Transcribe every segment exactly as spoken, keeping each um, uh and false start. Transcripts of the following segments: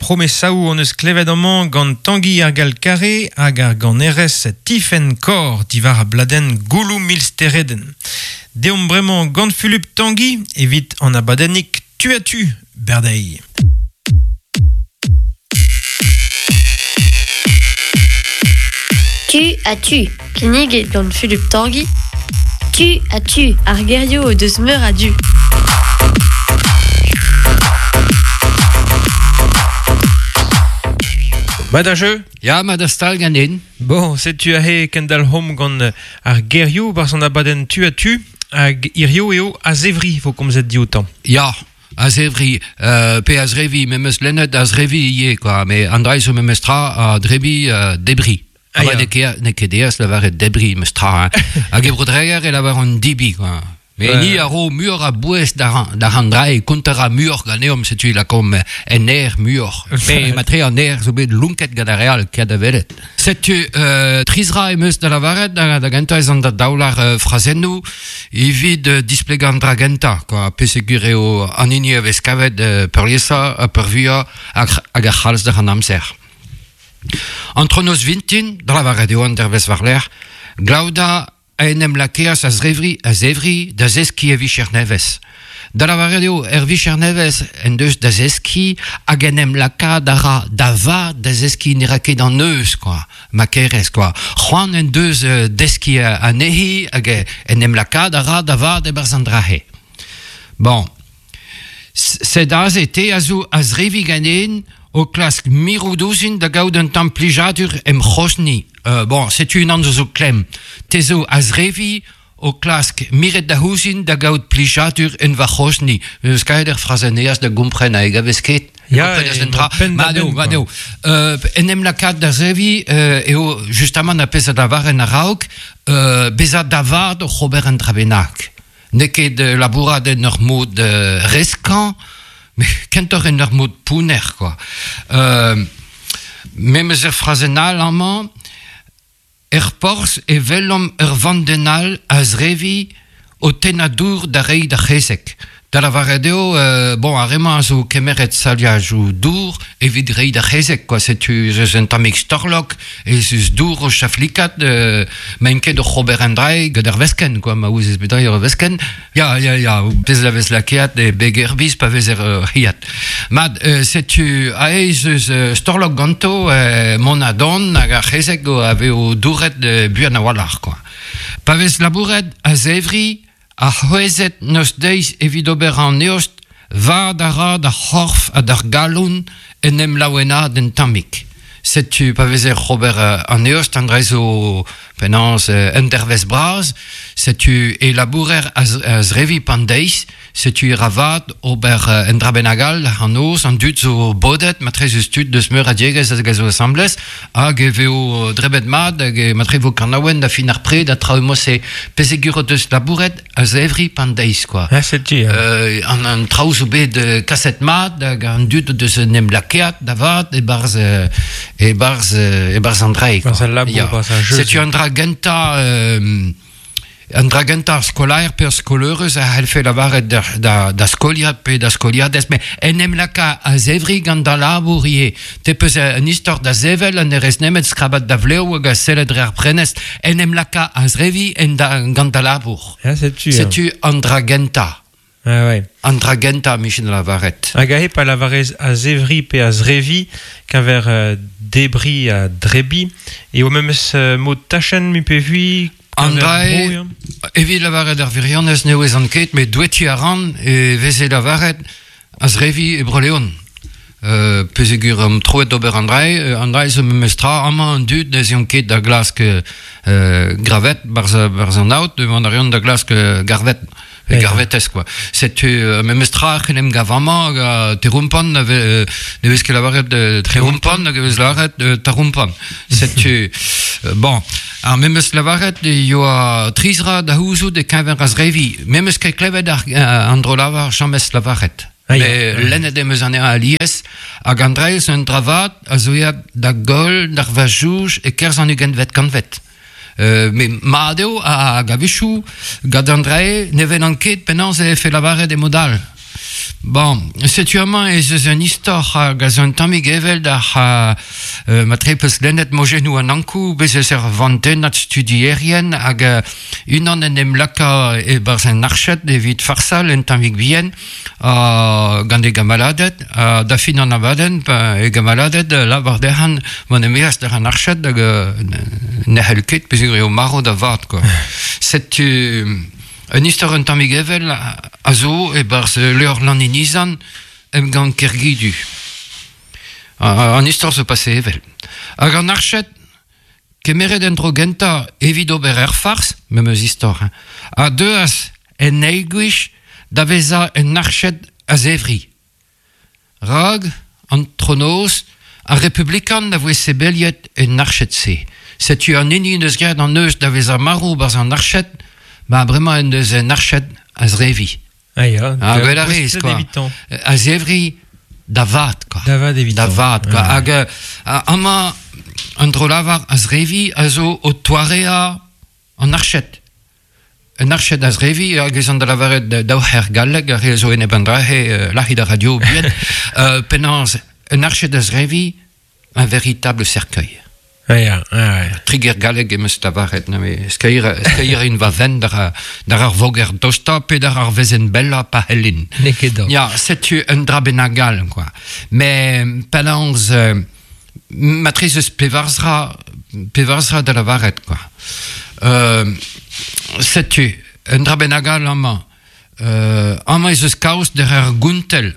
Promesaoù hon eus klevet amañ gant Tangi ar Galkare hag ar ganerez Tiffen Kor diwar a bladenn Gouloù mil steredenn. Deomp bremañ gant Fulup Tangi evit an abadennig tu a tu berdei. Tu a tu. Kinniget gant Fulup Tangi. Tu a tu. Ar gerioù o deus meur a du. Mat a jeu? Ya, mat a stal ganin. Bon, setu ahe kendal hom gant ar gerioù barzh an abadenn tu a tu hag hirio eo a-zevri vo komzet dioutañ. Ya, a-zevri, euh, pe a-zrevi, memes lennet a-zrevi ivez, quoi. Mais an dra zo memes tra a drebi euh, debri. Ah, Ah, ya. n'eo ket n'eo ket deas lavaret debri memes tra, hein. Hag e brodreger e lavar an dibi, quoi. Mais Ouais. ni a ro muur a bouez d'ar d'ar an dra e konter a muur ganeomp, setu lakom en aer muur. Pe matre an aer zo bet lunket gant ar real ket a velet. Setu euh, trizra em eus da lavaret da, da gentañ ez an da daoular euh, frazennoù evit euh, displegañ an dra gentañ, quoi. Pesegur eo an hini a vez kavet euh, peurliesañ ha peurvuiañ hag hag ar c'halz d'ar an amzer. Antronoz vintin, da lavaret eo an dervez war-lerc'h, Glauda a en em lakeas a zrevri, a zevri da zeski e vicher nevez. Da lavaret eo er vicher nevez en deus da zeski hag en em lakaat a ra da vat da zeski ne ra ket an eus, quoi, ma kerez, quoi. C'hoant en deus euh, deski anezhi hag en em lakaat a ra da vat e-barzh an drahe. Bon, sed aze te a zo a zrevi ganen o klask miroudozin da gaout un tamm plijadur em c'hozni. Euh, bon, setu unan zo zo klemm. Te zo a zrevi o klask miret da houzin da gaout plijadur en va c'hozni. Eus kaet er frazeneaz da gompren hag a vez ket. Ya, Kompren ez e un dra. penn da Ma eo, benn, ma quoi. eo. Euh, en em lakaat da zrevi euh, eo justement a pezh da varen a-raok euh, bezañ da vat o c'hober an dra bennak. N'eo ket euh, labourat en ur mod euh, reskañ, mais kentoc'h en ur mod pouner, quoi. Euh, memes er frazenn all amañ, er porzh e welomp ur vandenn a zrevi o tennañ dour da reiñ d'ar c'hezeg. Da lavaret eo, euh, bon, ar re-mañ a zo kemeret saliajoù dour evit reiñ d'ar c'hezeg, quoi. Setu eus un tammig storlok, ez eus dour o chaflikat, euh, maint ket o c'hober an drae gant ar veskenn, quoi, ma ouzez bet ar veskenn. Ya, ya, ya, pezh la vez lakeat e beg er biz pa vez er euh, riat. Mat, euh, setu aez eus euh, storlok ganto euh, mont a don hag ar c'hezeg o a vez o douret euh, buan a-walc'h, quoi. Pa vez labouret a zevri, a c'hwezet noz deiz evit ober an eost, vad a ra d'ar c'horf ha d'ar galon en em laouenad en tammig. Setu pa vezer c'hober euh, an eost, an dra zo penaos euh, un dervez braz, setu e labourer a, z- a zrevi pan deiz, setu e ra vat ober euh, un dra bennak all an noz, an dud zo bodet, matre eus tud deus meur a diegez hag a zo asamblez, hag e veo drebet mat, hag e matre vo kanaouen da fin ar pred, a traoù mose pesegur o deus labouret a zevri pan deiz, quoi. Ah, setu, ya. Euh, an, an traoù zo bet euh, kaset mat, hag an dud o deus en em lakeat da vat e-barzh euh, e-barzh euh, e-barzh an drae, quoi. Barzh al labour, Ya. barzh ar jeu, Setu zo. an dra gentañ euh, an dra gentañ ar skolaer pe ar skoleurez a c'hellfe lavaret da, da, da skoliad pe da skoliadez, mais en em laka a zevri gant da labour ivez. Te peus un istor da zevel, an erez nemet skrabat da vlev hag a sellet dre ar prenest, en em laka a zrevi en da, gant da labour. Ya, setu. ya. Setu an dra gentañ. Ah, ouais. An dra gentañ, Michel lavaret. Hag ahe pa lavarez a zevri pe a zrevi keñver euh, debri a drebi eo memes euh, mod tachenn mi pe vui An keñver drae, bro, ya. evit lavaret ar virionez n'eo ez an ket, met doueti a ran e veze lavaret a zrevi e Bro-Leon. Euh, pesegur am troet d'ober an drae, euh, an drae zo memes tra, amañ an dud n'ez eont ket da glask euh, gravet barz, barz an aot, an arion da glask euh, garvet. E Ya. garvetez, quoi. Setu euh, memes tra c'hell em gav amañ hag a terumpan, ne vez, ne vez ket lavaret euh, trerumpan hag e vez lavaret euh, tarumpan. Setu, euh, bon, ar memes lavaret e yoa trizra da houzout e keñver a zrevi. Memes ket klevet ar, euh, an dro lavar james lavaret. Ah, ya. Me lennet em eus anezhañ alies, hag an draez un dravat a zo eat da goll d'ar vajouj e kerzh an ugentvet kantvet. Euh, me mat eo hag a-wechoù gant an drae ne vel an ket penaos e fe lavaret e mod all. Bon, setu amañ ez eus un istor hag a zo un tammig evel d'ar euh, ma tre peus lennet mojennoù an Ankou, bez eus ur vantennad studierien hag euh, unan en em laka e-barzh un arched evit farsal un tammig bihan uh, gant e gamaladed, uh, da fin an abadenn, pa e gamaladed lavar dezhan mont e-maez d'ar an arched hag euh, ne c'hell ket peogwir eo marv da vat, quoi. Setu un istor un tammig evel a zo e-barzh levr Lanninizan emgann Kergidu. An istor zo pase evel. Hag an arched kemeret en dro gentañ evit ober ur fars, memes istor, hein, a deuas en eil gwech da vezañ un arched a-zevri. Rag, an tronoz, ar republikan a voe sebeliet en arched-se. Setu an hini neus graet an neuz da vezañ marv barzh an arched, ba bremañ en deus un arched a-zrevi. Ah ya, ah, gwell a rez, quoi. A-zevri da vat, quoi. Da vat evitañ. Da vat, quoi. Ah. Hag euh, amañ an dro-lavar a-zrevi a zo o toarea an arched. Un arched a-zrevi, hag ez an da lavaret daou c'her galleg, ar re zo enep an drahe, lac'hit ar radio bihan, euh, penaos, un arched a-zrevi, un véritable cercueil. Ah ya, ah ouais. Triger galleg em eus lavaret, na me skeir, skeir in va ven d'ar, d'ar ar voger dosta pe d'ar ar vezen bella pa hellin. N'eo ket da. Ya, setu un dra bennak gall, quoi. Mais penaos, euh, matrez eus pevarzra, pevarzra da lavaret, quoi. Euh, setu, un dra bennak gall amañ. Euh, amañ ez eus kaoz d'ar ar gountel.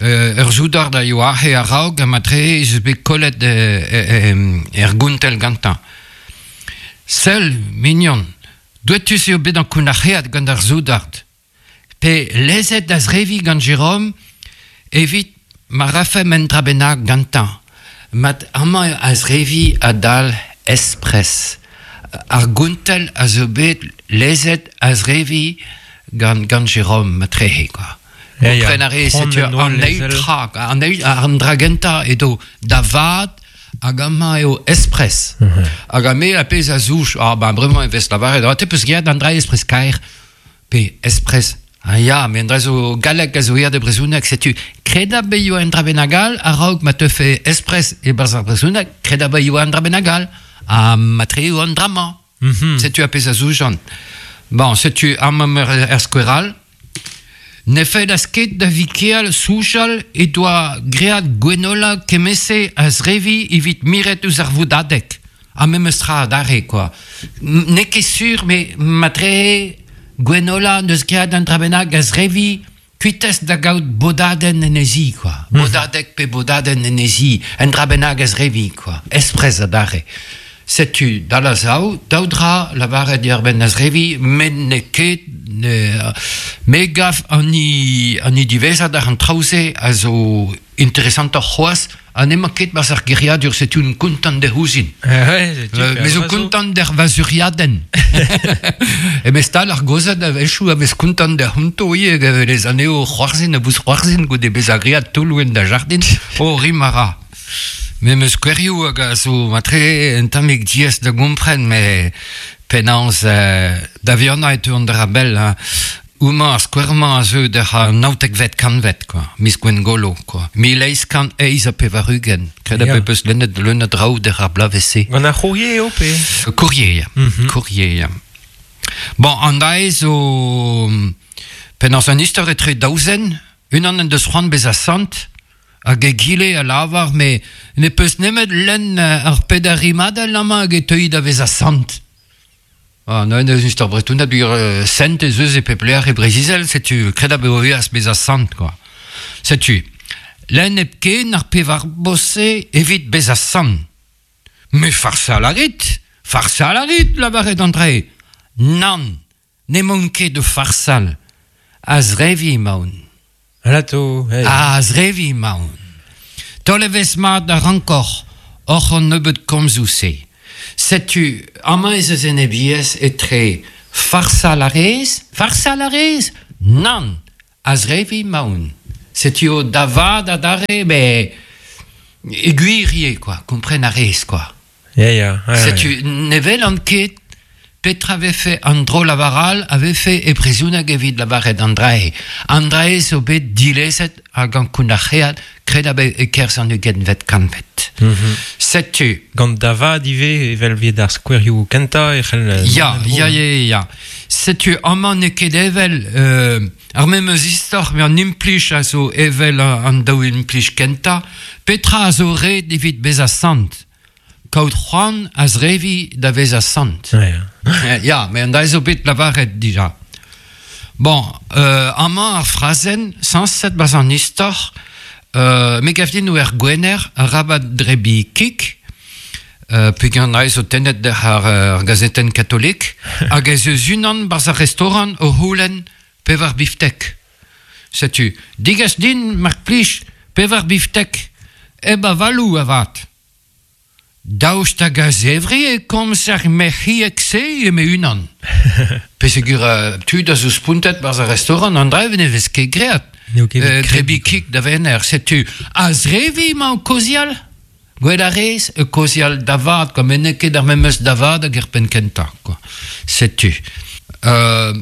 Euh, ur soudard a yoa aze a-raok ha matre ez eus bet kollet euh, er gountel gantañ. Sell, mignon, douetus eo bet an kounac'heat gant ar soudard. Pe lezet da zrevi gant Jérôme evit ma rafem un dra bennak gantañ. Mat amañ a zrevi a-dal espres. Ar gountel a zo bet lezet a zrevi gant, gant Jérôme matrehe, quoi. Ya, ya. Kompren a rez, Pront setu en oa an eil lezel. tra, an eil, an dra gentañ edo da vat hag amañ eo espres. Hag a me a pezh a zouch, ah ben bremañ e vez lavaret, ah, te peus graet an dra espres kaer, pe espres. Ah ya, me an dra zo galleg a zo yer de brezhoneg, setu kredab be yoa an dra bennak all, a-raok ma teufe espres e-barzh ar brezhoneg, kredab be yoa an dra bennak all, ha matre eo an dra-mañ. Mhm. Setu a pezh a zoujan. Bon, setu amañ er, er skouer all. Ne fell a ket da vikeal soujal e doa great Gwenola kemese a zrevi evit miret eus ar voudadeg. Ha memes tra adarre, quoi. M- N'eo ket sur, mais matre Gwenola neus great an dra bennak a zrevi kuitez da gaout bodadenn en ezi, quoi. Bodadeg pe bodadenn en ezi, un dra bennak a zrevi, quoi. Espres adarre. Setu, da la zao, daou dra lavaret diàr-benn a zrevi, met n'eo ket, ne, me gav an i, an i diwezhat ar an traoù-se a zo interesantoc'h c'hoazh, ha n'emañ ket barzh ar geriadur, setu un kontant d'er ouzhin. Ah ouais, setu, Euh, pe me zo ar zo. kontant d'er vazuriadenn. E me stal ar gozad a wechoù a vez kontant d'er honto ivez, hag les anezho c'hoarzhin a bouz c'hoarzhin goude bezañ great taoloù da jardin, o rim a ra. Me meus skouerioù hag a zo matre un tammig diaes da gompren, me penaos euh, da vihanañ e teu an dra bell, hein. Houmañ ar skouer-mañ a zeu d'ar an naontekvet kantved, quoi. Miz Gwengolo, quoi. Mil eizh kant eizh ha pevar-ugent. Kred a Ya. pe peus lennet leun a draoù d'ar ar bloavezh-se. Gant ar c'hourrier eo pe? Courrier, ya. Mhm. Courrier, ya. Bon, an dae zo... Penaos an istor etre daouzen, unan en deus c'hoant bezañ sant, hag egile a lavar, me ne peus nemet lenn euh, ar peder rimadell amañ hag e teui da vezañ sant. Ah, neuze eus istor bretonat bir euh, sent ez eus e pep lec'h e Breizh-Izel, setu kredab eo eas bezañ sant, quoi. Setu, lenn hepken ar pevar bose evit bezañ sant. Me farsal a rit, farsal a rit, lavaret an dre. Nann, n'emaon ket o farsal. A zrevi emaon. Alato, hey. A zrevi emaon. Taol evezh mat ar rankor, oc'h an nebeud komzoù-se. Setu, amañ ez eus enebiezh etre farsal a rez, farsal a rez, nann, a zrevi emaon. Setu o da vat adarre, me e gwir ivez, quoi, kompren a rez, quoi. Ya, ya. ouais, Setu, ne welan ket Petra vefe an dro lavaral a vefe e brezhoneg evit lavaret an drae. An drae zo bet dilezet hag an kounac'heat kred abe e kerzh an ugentvet kantved. Mm -hmm. Setu. Gant davad ivez evel vet ar skouerioù kentañ e c'hell... Ya, ya, ya, ya. Setu amañ n'eo ket evel euh, ar memes istor met an implij a zo evel an daou implij kentañ. Petra a zo ret evit bezañ sant? Kaout c'hoant a zrevi da vezañ sant. Ja, ya, met an da zo bet lavaret dija. Bon, euh, amañ ar frazenn, sañset bas an istor, euh, me gav din er gwener rabat drebi kik, euh, peogwir an zo tennet d'ar ar, ar gazetenn katolik, hag ez eus unan barzh ar restaurant o c'houlenn pevar biftek. Setu, digas din, mar plij, pevar biftek, eb avalou avat. Daoust hag a zevri e komz ar mec'hiek-se eme unan. Pesegur uh, tud a zo spontet barzh ar restaurant, an drev ne vez ket graet. Euh, drebi kik da vener, setu. A zrevi emañ o kaozeal? Gwell a rez, e kaozeal da vat, quoi, met n'eo ket ar memes da vat hag er penn kentañ, quoi. Setu. Euh,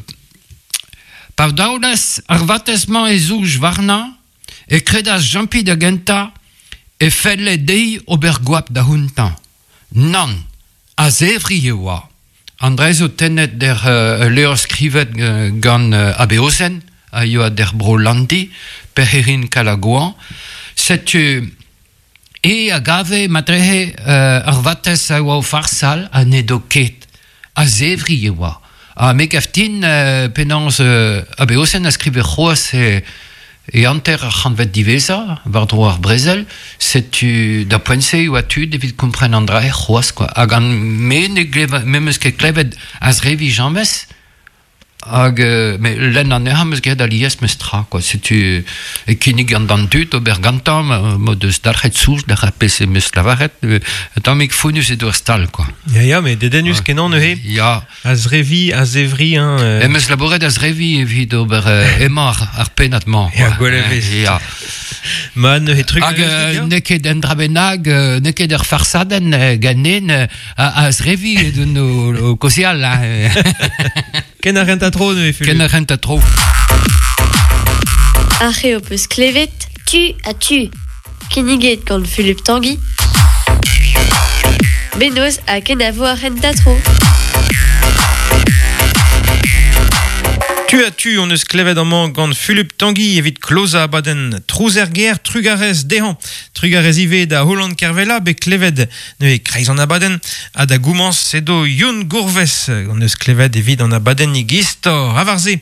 pa daolas ar vatez-mañ e zouj warnañ, e kredas Jampi da gentañ, e felle dezhi ober goap da huntañ. Nann, a zevri e oa. An dra zo tennet der uh, levr skrivet uh, gant uh, Abeozen, a yoa der bro Landi, perc'herin Kalagoan. Setu e a gave matrehe uh, ar vatez a oa o farsal a n'edo ket. A zevri e oa. Ha me gav din uh, penaos uh, Abeozen a skrive c'hoazh e E hanter ar c'hantved diwezhañ, war-dro ar brezel, setu da poent-se oa tud evit kompren an drae c'hoazh, quoi. Hag an me ne gleva, me 'meus ket klevet a zrevi james, hag euh, me lenn anezhañ 'meus graet alies meus tra, quoi. Setu e kinnig an d'an dud ober gantañ, ma deus dalc'het soñj d'ar ar pezh em eus lavaret, euh, tammig fonnus edo ar stal, quoi. Ya, ya, met dedennus kenañ neuze. Ya. A zrevi, a zevri, hein. Euh... Em eus labouret a zrevi evit ober euh, emañ ar, ar pennad-mañ. Ya, gwell e vez. Ya. Ma neuze truc... Hag euh, n'eo ket un dra bennak, euh, n'eo ket ur farsadenn euh, ganen euh, a, a zrevi edon o, o kaozeal, hein. Ken a renta tro neuze, Fulup. Ken a renta tro. Ar c'heo peus klevet, Tu a tu. kinniget gant Fulup Tanguy. Benoz ha kenavo ar renta tro. Tu a tu, on eus klevet amañ gant Fulup Tanguy evit kloza abadenn Trouzerger trugarez dezhañ. Trugarez ivez da Holland Kervella bet klevet neuze kreiz an abadenn ha da goumañs edo Youn Gourvez on eus klevet evit an abadennig istor avarze.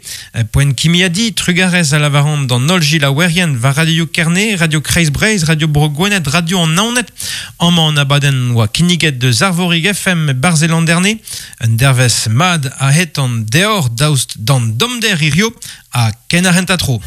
Poent kimiadi trugarez a lavaran d'an holl gilaouerien war Radio Kerne, Radio Kreiz Breizh, Radio Bro Gwened, Radio an Naoned. Amañ an abadenn oa kinniget deus Arvorig F M Barzelanderne. Un dervez mad a het an deor daoust d'an domder hirio a ken ar renta tro.